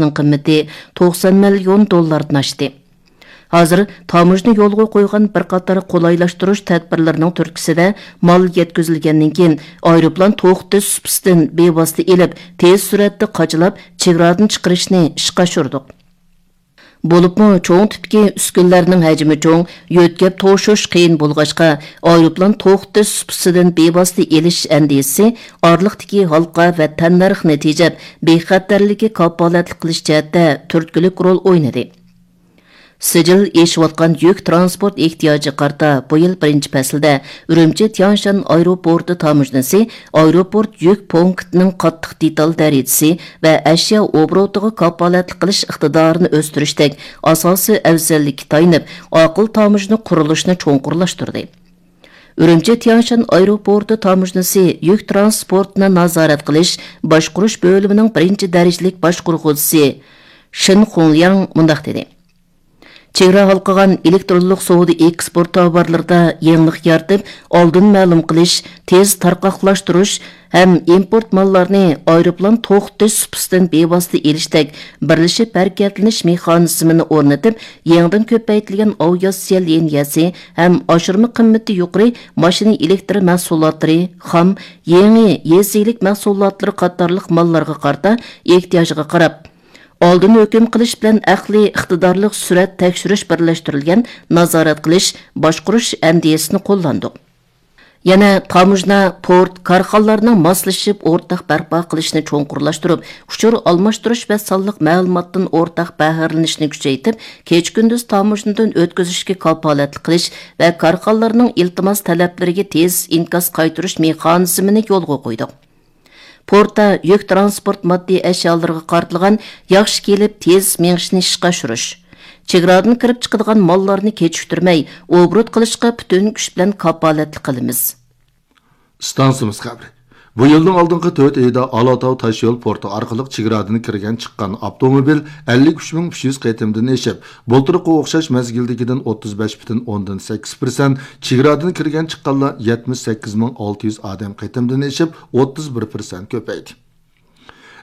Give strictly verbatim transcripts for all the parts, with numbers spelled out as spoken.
قىممىتى توقسان مىليون دوللاردىن ئاشتى. ھازىر تاموژنا يولغا قويغان بىر قاتار قولايلاشتۇرۇش تەدبىرلىرىنىڭ تۈرتكىسىدە، مال يەتكۈزۈلگەندىن كېيىن، ئايروپىلان توختىتىش سۇپىسىدىن بىۋاسىتە ئېلىپ، تېز سۈرئەتتە قاچىلاپ، چېگرادىن چىقىرىشنى ئىشقا ئاشۇردۇق. بولۇپمۇ چوڭ تىپتىكى ئۈسكۈنىلەرنىڭ ھەجمى چوڭ، يۆتكەپ توشۇش قىيىن بولغاچقا، ئايروپىلان توختىتىش سۇپىسىدىن بىۋاسىتە ئېلىش ئەندىزىسى ئارىلىقتىكى ھالقا ۋە تەننەرخنى تېجەپ، بىخەتەرلىككە كاپالەتلىك قىلىش جەھەتتە تۈرتكىلىك رول ئوينىدى. سىجىل ئېشىۋاتقان يۈك تىرانسپورت ئېھتىياجىغا قارىتا، بۇ يىل بىرىنچى پەسىلدە ئۈرۈمچى تيانشان ئايروپورتى تاموژنىسى ئايروپورت يۈك پونكىتىنىڭ قاتتىق دېتال دەرىجىسى ۋە ئەشيا ئوبوروتىغا كاپالەتلىك قىلىش ئىقتىدارىنى ئۆستۈرۈشتەك ئاساسىي ئەۋزەللىككە تايىنىپ، ئاقىل تاموژنا قۇرۇلۇشىنى چوڭقۇرلاشتۇردى. ئۈرۈمچى تيانشان ئايروپورتى تاموژنىسى يۈك تىرانسپورتىنى نازارەت قىلىش، باشقۇرۇش بۆلۈمىنىڭ بىرىنچى دەرىجىلىك باشقۇرغۇچىسى شېن خۇڭلياڭ مۇنداق دېدى: چېگرا ھالقىغان ئېلېكترونلۇق سودا ئېكسپورت تاۋارلىرىدا يېڭىلىق يارىتىپ، ئالدىن مەلۇم قىلىش، تېز تارقاقلاشتۇرۇش ھەم ئىمپورت ماللارنى ئايروپىلان توختىتىش سۇپىسىدىن بىۋاسىتە ئېلىشتەك بىرلىشىپ ھەرىكەتلىنىش مېخانىزمىنى ئورنىتىپ، يېڭىدىن كۆپەيتىلگەن ئاۋىئاتسىيە لىنىيەسى ھەم ئاشۇرما قىممىتى يۇقىرى ماشىنا ئېلېكتر مەھسۇلاتلىرى، خام، يېڭى يېزا ئىگىلىك مەھسۇلاتلىرى قاتارلىق ماللارغا قارىتا ئېھتىياجغا قاراپ، ئالدىن ھۆكۈم قىلىش بىلەن ئەقلىي ئىقتىدارلىق سۈرئەت تەكشۈرۈش بىرلەشتۈرۈلگەن نازارەت قىلىش، باشقۇرۇش ئەندىزىسىنى قوللاندۇق. يەنە تاموژنا، پورت، كارخانىلارنىڭ ماسلىشىپ ئورتاق بەرپا قىلىشنى چوڭقۇرلاشتۇرۇپ، ئۇچۇر ئالماشتۇرۇش ۋە سانلىق مەلۇماتتىن ئورتاق بەھرىلىنىشنى كۈچەيتىپ، كېچە-كۈندۈز تاموژنىدىن ئۆتكۈزۈشكە كاپالەتلىك قىلىش ۋە كارخانىلارنىڭ ئىلتىماس تەلەپلىرىگە تېز ئىنكاس قايتۇرۇش مېخانىزمىنى يولغا قويدۇق. پورتتا يۈك تىرانسپورت ماددىي ئەشيالىرىغا قارىتىلغان ياخشى كېلىپ تېز مېڭىشنى ئىشقا ئاشۇرۇش، چېگرادىن كىرىپ چىقىدىغان ماللارنى كېچىكتۈرمەي ئوبوروت قىلىشقا پۈتۈن كۈچ بىلەن كاپالەتلىك قىلىمىز. ئىستانسىمىز خەۋىرى. بۇ يىلنىڭ ئالدىنقى تۆت ئېيىدا ئالاتاۋ تاشيول پورتى ئارقىلىق چېگرادىن كىرگەن چىققان ئاپتوموبىل ئەللىك ئۈچ مىڭ ئۈچ يۈز قېتىمدىن ئېشىپ، بۇلتۇرقى ئوخشاش مەزگىلدىكىدىن ئوتتۇز بەش پۈتۈن ئوندىن سەككىز پىرسەنت، چېگرادىن كىرگەن چىققانلار يەتمىش سەككىز مىڭ ئالتە يۈز ئادەم قېتىمدىن ئېشىپ، ئوتتۇز بىر پىرسەنت كۆپەيدى.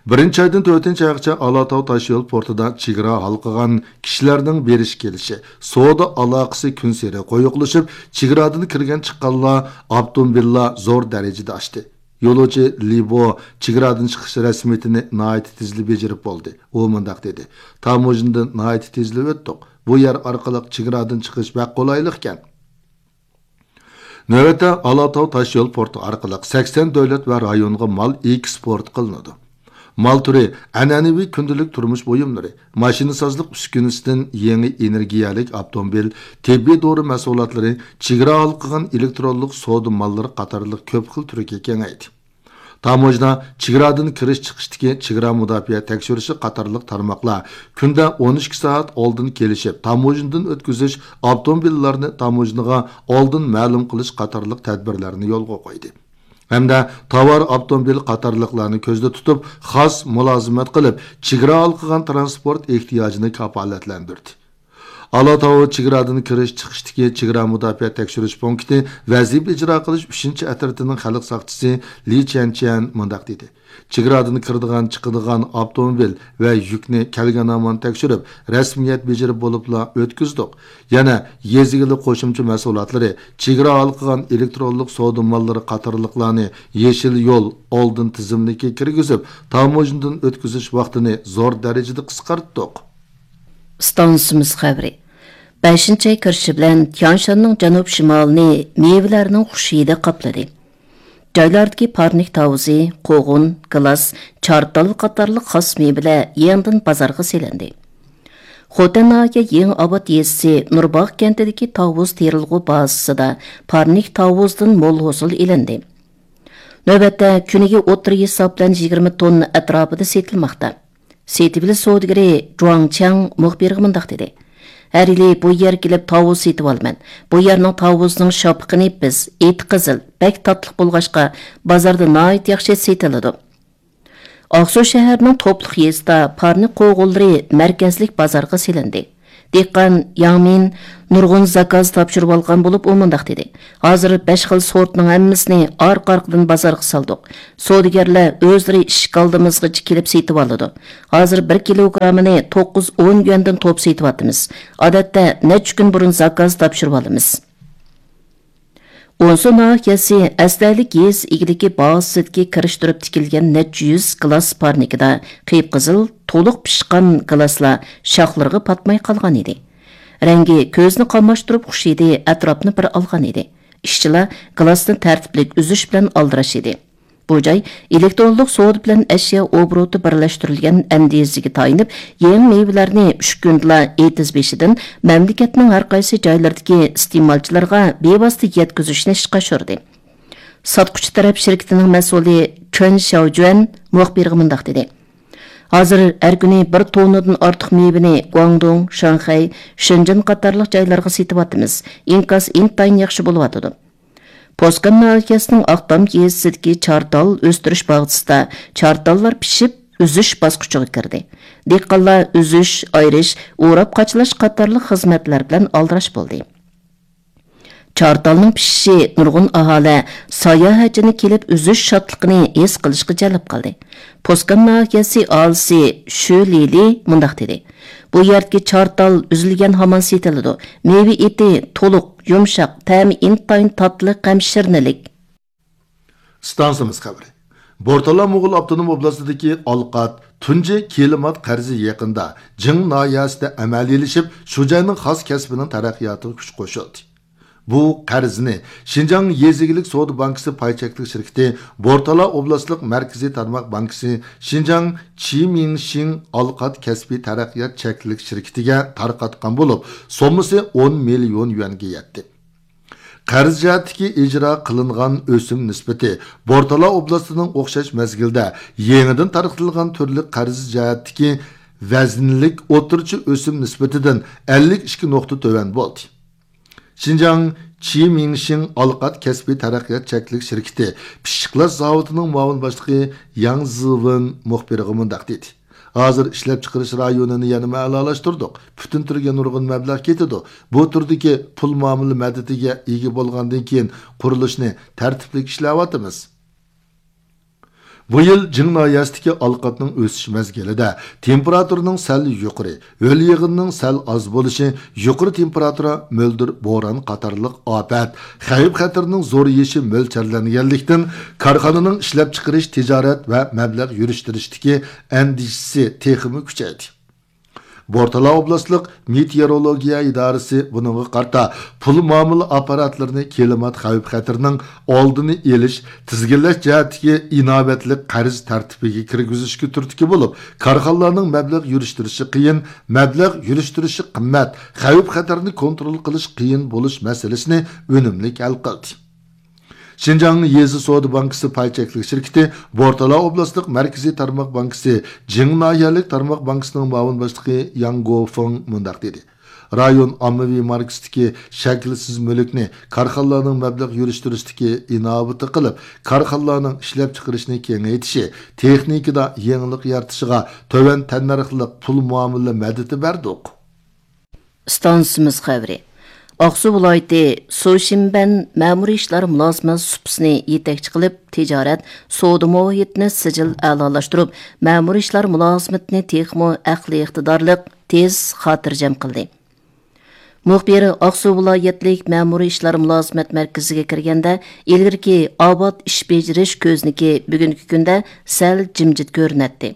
بىرىنچى ئايدىن تۆتىنچى ئايغىچە ئالاتاۋ تاشيول پورتىدا چېگرا ھالقىغان كىشىلەرنىڭ بېرىش كېلىشى، سودا ئالاقىسى كۈنسېرى قويۇقلىشىپ، چېگرادىن كىرگەن چىققانلار، ئاپتوموبىللار زور دەرىجىدە ئاشتى. يولۇچى لى بو چېگرادىن چىقىش رەسمىيىتىنى ناھايىتى تېزلا بېجىرىپ بولدى. ئۇ مۇنداق دېدى: تاموژنىدىن ناھايىتى تېزلا ئۆتتۇق. بۇ يەر ئارقىلىق چېگرادىن چىقىش بەك قولايلىقكەن. نۆۋەتتە ئالاتاۋ تاشيول پورتى ئارقىلىق سەكسەن دۆلەت ۋە رايونغا مال ئېكسپورت قىلىنىدۇ. مال تۈرى ئەنئەنىۋى كۈندىلىك تۇرمۇش بۇيۇملىرى، ماشىنىسازلىق ئۈسكۈنىسىدىن يېڭى ئېنېرگىيەلىك ئاپتوموبىل، تېببىي دورا مەھسۇلاتلىرى، چېگرا ھالقىغان ئېلېكترونلۇق سودا ماللىرى قاتارلىق كۆپ خىل تۈرگە كېڭەيدى. تاموژنا، چېگرادىن كىرىش چىقىشتىكى چېگرا مۇداپىئە تەكشۈرۈشى قاتارلىق تارماقلار كۈندە ئون ئىككى سائەت ئالدىن كېلىشىپ، تاموژنىدىن ئۆتكۈزۈش، ئاپتوموبىللارنى تاموژنىغا ئالدىن مەلۇم قىلىش قاتارلىق تەدبىرلەرنى يولغا قويدى. ھەمدە تاۋار ئاپتوموبىل قاتارلىقلارنى كۆزدە تۇتۇپ، خاس مۇلازىمەت قىلىپ، چېگرا ھالقىغان تىرانسپورت ئېھتىياجىنى كاپالەتلەندۈردى. ئالاتاۋ چېگرادىن كىرىش چىقىشتىكى چېگرا مۇداپىئە تەكشۈرۈش پونكىتى ۋەزىپە ئىجرا قىلىش ئۈچىنچى ئەترىتىنىڭ خەلق ساقچىسى لى چيەنچيەن مۇنداق دېدى: چېگرادىن كىرىدىغان، چىقىدىغان ئاپتوموبىل ۋە يۈكنى كەلگەن ھامان تەكشۈرۈپ، رەسمىيەت بېجىرىپ بولۇپلا ئۆتكۈزدۇق. يەنە يېزا ئىگىلىك قوشۇمچە مەھسۇلاتلىرى، چېگرا ھالقىغان ئېلېكترونلۇق سودا ماللىرى قاتارلىقلارنى يېشىل يول ئالدىن تىزىملىكىگە كىرگۈزۈپ، تاموژنىدىن ئۆتكۈزۈش ۋاقتىنى زور دەرىجىدە قىسقارتتۇق. ئىستانسىمىز خەۋىرى. بەشىنچى ئاي كىرىشى بىلەن تيانشاننىڭ جەنۇب شىمالىنى مېۋىلەرنىڭ خۇش ھىدى قاپلىدى. جايلاردىكى پارنىك تاۋۇزى، قوغۇن، گىلاس، چارتال قاتارلىق خاس مېۋىلەر يېڭىدىن بازارغا سېلىندى. خوتەن ناھىيە يېڭى ئاۋات يېزىسى نۇرباغ كەنتىدىكى تاۋۇز تېرىلغۇ بازىسىدا پارنىك تاۋۇزدىن مول ھوسۇل ئېلىندى. نۆۋەتتە كۈنىگە ئوتتۇرا ھېساب بىلەن يىگىرمە توننا ئەتراپىدا سېتىلماقتا. سېتىۋېلىش سودىگىرى جۇاڭ چياڭ مۇخبىرغا مۇنداق دېدى: ھەر يىلى بۇ يەرگە كېلىپ تاۋۇز سېتىۋالىمەن. بۇ يەرنىڭ تاۋۇزىنىڭ شاپىقى نېپىز، ئېتى قىزىل، بەك تاتلىق بولغاچقا، بازاردا ناھايىتى ياخشى سېتىلىدۇ. ئاقسۇ شەھىرىنىڭ توپلۇق يېزىسىدا پارنىك قوغۇنلىرى مەركەزلىك بازارغا سېلىندى. دېھقان ياڭ مىن نۇرغۇن زاكاز تاپشۇرۇۋالغان بولۇپ، ئۇ مۇنداق دېدى: «ھازىر بەش خىل سورتنىڭ ھەممىسىنى ئارقا-ئارقىدىن بازارغا سالدۇق. سودىگەرلەر ئۆزلىرى ئىشىك ئالدىمىزغىچە كېلىپ سېتىۋالىدۇ. ھازىر بىر كىلوگرامىنى توققۇز، ئون يۈەندىن توپ سېتىۋاتىمىز. ئادەتتە نەچچە كۈن بۇرۇن زاكاز تاپشۇرۇۋالىمىز.» ئونسۇ ناھىيەسى ئەستەيلىك يېزا ئىگىلىكى باغچىسىدىكى كىرىش تۇرۇپ تىكىلگەن نەچچە يۈز گىلاس پارنىكىدا قىپقىزىل، تولۇق پىشقان گىلاسلار شاخلىرىغا پاتماي قالغان ئىدى. رەڭگى كۆزنى قاماشتۇرۇپ خۇش ئىدى، ئەتراپنى بىر ئالغان ئىدى. ئىشچىلار گىلاسنى تەرتىپلىك ئۈزۈش بىلەن ئالدىراش ئىدى. بۇ جاي ئېلېكترونلۇق سودا بىلەن ئەشيا ئوبوروتى بىرلەشتۈرۈلگەن ئەندىزىگە تايىنىپ، يېڭى مېۋىلەرنى ئۈچ كۈندىلا ئېتىز بېشىدىن مەملىكەتنىڭ ھەر قايسى جايلىرىدىكى ئىستېمالچىلارغا بىۋاسىتە يەتكۈزۈشنى ئىشقا ئاشۇردى. ساتقۇچى تەرەپ شىركىتىنىڭ مەسئۇلى چۈەن شياۋجۈەن مۇخبىرغا مۇنداق دېدى: «ھازىر ھەر كۈنى بىر توننىدىن ئارتۇق مېۋىنى گۇاڭدۇڭ، شاڭخەي، شېنجېن قاتارلىق جايلارغا سېتىۋاتىمىز. ئىنكاس ئىنتايىن ياخشى بولۇۋاتىدۇ.» پوسكان ناھىيەسىنىڭ ئاقتام يېزىسىدىكى چارتال ئۆستۈرۈش باغچىسىدا چارتاللار پىشىپ، ئۈزۈش باسقۇچىغا كىردى. دېھقانلار ئۈزۈش، ئايرىش، ئوراپ قاچىلاش قاتارلىق خىزمەتلەر بىلەن ئالدىراش بولدى. چارتالنىڭ پىشىشى نۇرغۇن ئاھالە، ساياھەتچىنى كېلىپ ئۈزۈش شادلىقىنى ھېس قىلىشقا جەلپ قىلدى. پوسكان ناھىيەسى ئاھالىسى شۈ لىلى مۇنداق دېدى: «بۇ يەردىكى چارتال ئۈزۈلگەن ھامان سېتىلىدۇ. مېۋە ئېتى تولۇق، يۇمشاق، تەمى ئىنتايىن تاتلىق ھەم شىرنىلىك.» ئىستانسىمىز خەۋىرى. بورتالا موغۇل ئاپتونوم ئوبلاستىدىكى ئالقات تۇنجى كىلىمات قەرزى يېقىندا جىڭ ناھىيەسىدە ئەمەلىيلىشىپ، شۇ جاينىڭ خاس كەسپىنىڭ تەرەققىياتىغا كۈچ قوشۇلدى. بۇ قەرزنى شىنجاڭ يېزا ئىگىلىك سودا بانكىسى پاي چەكلىك شىركىتى، بورتالا ئوبلاستلىق مەركىزىي تارماق بانكىسى، شىنجاڭ چىمىڭشىڭ ئالقات كەسپىي تەرەققىيات چەكلىك شىركىتىگە تارقاتقان بولۇپ، سوممىسى ئون مىليون يۈەنگە يەتتى. قەرز جەھەتتىكى ئىجرا قىلىنغان ئۆسۈم نىسبىتى بورتالا ئوبلاستىنىڭ ئوخشاش مەزگىلدە يېڭىدىن تارقىتىلغان تۈرلۈك قەرز جەھەتتىكى ۋەزىنلىك ئوتتۇرىچە ئۆسۈم نىسبىتىدىن ئەللىك ئىككى نۇقتا تۆۋەن بولدى. شىنجاڭ چىمىڭشىڭ ئالقات كەسپىي تەرەققىيات چەكلىك شىركىتى پىششىقلاش زاۋۇتىنىڭ مۇئاۋىن باشلىقى ياڭ زىۋېن مۇخبىرغا مۇنداق دېدى: «ھازىر ئىشلەپچىقىرىش رايونىنى يەنىمۇ ئەلالاشتۇردۇق. پۈتۈن تۈرگە نۇرغۇن مەبلەغ كېتىدۇ. بۇ تۈردىكى پۇل مۇئامىلە مەدىتىگە ئىگە بولغاندىن كېيىن قۇرۇلۇشنى تەرتىپلىك ئىشلەۋاتىمىز.» بۇ يىل جىڭ ناھىيەسىدىكى ئالقاتنىڭ ئۆسۈش مەزگىلىدە تېمپېراتۇرىنىڭ سەل يۇقىرى، ھۆل يېغىنىنىڭ سەل ئاز بولۇشى، يۇقىرى تېمپېراتۇرا، مۆلدۈر بوران قاتارلىق ئاپەت، خەۋپ-خەتىرىنىڭ زورىيىشى مۆلچەرلەنگەنلىكتىن، كارخانىنىڭ ئىشلەپچىقىرىش، تىجارەت ۋە مەبلەغ يۈرۈشتۈرۈشتىكى ئەندىشىسى تېخىمۇ كۈچەيدى. بورتالا ئوبلاستلىق مېتېئورولوگىيە ئىدارىسى بۇنىڭغا قارىتا پۇل مۇئامىلە ئاپپاراتلىرىنى كىلىمات خەۋپ-خەتىرىنىڭ ئالدىنى ئېلىش، تىزگىنلەش جەھەتتىكى ئىناۋەتلىك قەرز تەرتىپىگە كىرگۈزۈشكە تۈرتكە بولۇپ، كارخانىلارنىڭ مەبلەغ يۈرۈشتۈرۈشى قىيىن، مەبلەغ يۈرۈشتۈرۈشى قىممەت، خەۋپ-خەتەرنى كونترول قىلىش قىيىن بولۇش مەسىلىسىنى ئۈنۈملۈك ھەل قىلدى. شىنجاڭ يېزا سودا بانكىسى پاي چەكلىك شىركىتى بورتالا ئوبلاستلىق مەركىزىي تارماق بانكىسى جىڭ ناھىيەلىك تارماق بانكىسىنىڭ مۇئاۋىن باشلىقى ياڭ گوفېڭ مۇنداق دېدى: «رايون ئاممىۋى ماركىسىدىكى شەكىلسىز مۈلۈكنى كارخانىلارنىڭ مەبلەغ يۈرۈشتۈرۈشتىكى ئىناۋىتى قىلىپ، كارخانىلارنىڭ ئىشلەپچىقىرىشنى كېڭەيتىشى، تېخنىكىدا يېڭىلىق يارىتىشىغا تۆۋەن تەننەرخلىق پۇل مۇئامىلە مەدىتى بەردۇق.» ئىستانسىمىز خەۋىرى. ئاقسۇ ۋىلايىتى سۇشىنبەن مەمۇرىي ئىشلار مۇلازىمەت سۇپىسىنى يېتەكچى قىلىپ، تىجارەت، سودا مۇھىتىنى سىجىل ئەلالاشتۇرۇپ، مەمۇرىي ئىشلار مۇلازىمىتىنى تېخىمۇ ئەقلىي ئىقتىدارلىق، تېز، خاتىرجەم قىلدى. مۇخبىر ئاقسۇ ۋىلايەتلىك مەمۇرىي ئىشلار مۇلازىمەت مەركىزىگە كىرگەندە، ئىلگىرىكى ئاۋات ئىش بېجىرىش كۆزنىكى بۈگۈنكى كۈندە سەل جىمجىت كۆرۈنەتتى.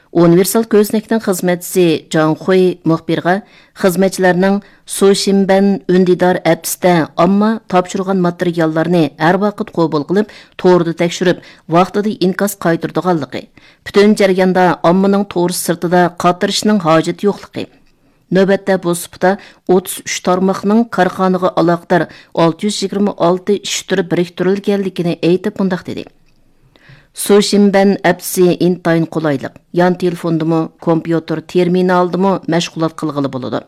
ئۇنىۋېرسال كۆزنەكنىڭ خىزمەتچىسى جاڭ خۇي مۇخبىرغا خىزمەتچىلەرنىڭ سۇشىنبەن ئۈندىدار ئەپسىدە ئامما تاپشۇرغان ماتېرىياللارنى ھەر ۋاقىت قوبۇل قىلىپ، توردا تەكشۈرۈپ، ۋاقتىدا ئىنكاس قايتۇرىدىغانلىقى، پۈتۈن جەرياندا ئاممىنىڭ تور سىرتىدا قاترىشىنىڭ ھاجىتى يوقلۇقى، نۆۋەتتە بۇ سۇپىدا ئوتتۇز ئۈچ تارماقنىڭ كارخانىغا ئالاقىدار ئالتە يۈز يىگىرمە ئالتە ئىش تۈرى بىرىكتۈرۈلگەنلىكىنى ئېيتىپ مۇنداق دېدى: سۇشىنبەن ئەپسى ئىنتايىن قولايلىق، يان تېلېفوندىمۇ، كومپيۇتېر تېرمىنالدىمۇ مەشغۇلات قىلغىلى بولىدۇ.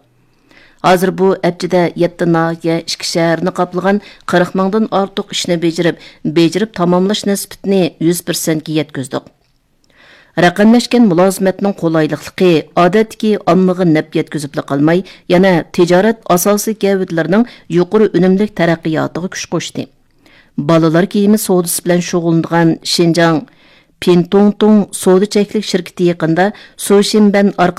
ھازىر بۇ ئەپچىدە يەتتە ناھىيە، ئىككى شەھەرنى قاپلىغان قىرىق مىڭدىن ئارتۇق ئىشنى بېجىرىپ، بېجىرىپ تاماملاش نىسبىتىنى يۈز پىرسەنتكە يەتكۈزدۇق. رەقەملەشكەن مۇلازىمەتنىڭ قولايلىقلىقى ئادەتتىكى ئاممىغا نەپ يەتكۈزۈپلا قالماي، يەنە تىجارەت ئاساسىي گەۋدىلىرىنىڭ يۇقىرى ئۈنۈملۈك تەرەققىياتىغا كۈچ قوشتى. بالىلار كىيىمى سودىسى بىلەن شۇغۇللىنىدىغان شىنجاڭ پىنتۇڭتۇڭ سودا چەكلىك شىركىتى يېقىندا سۇشىنبەن ئارقا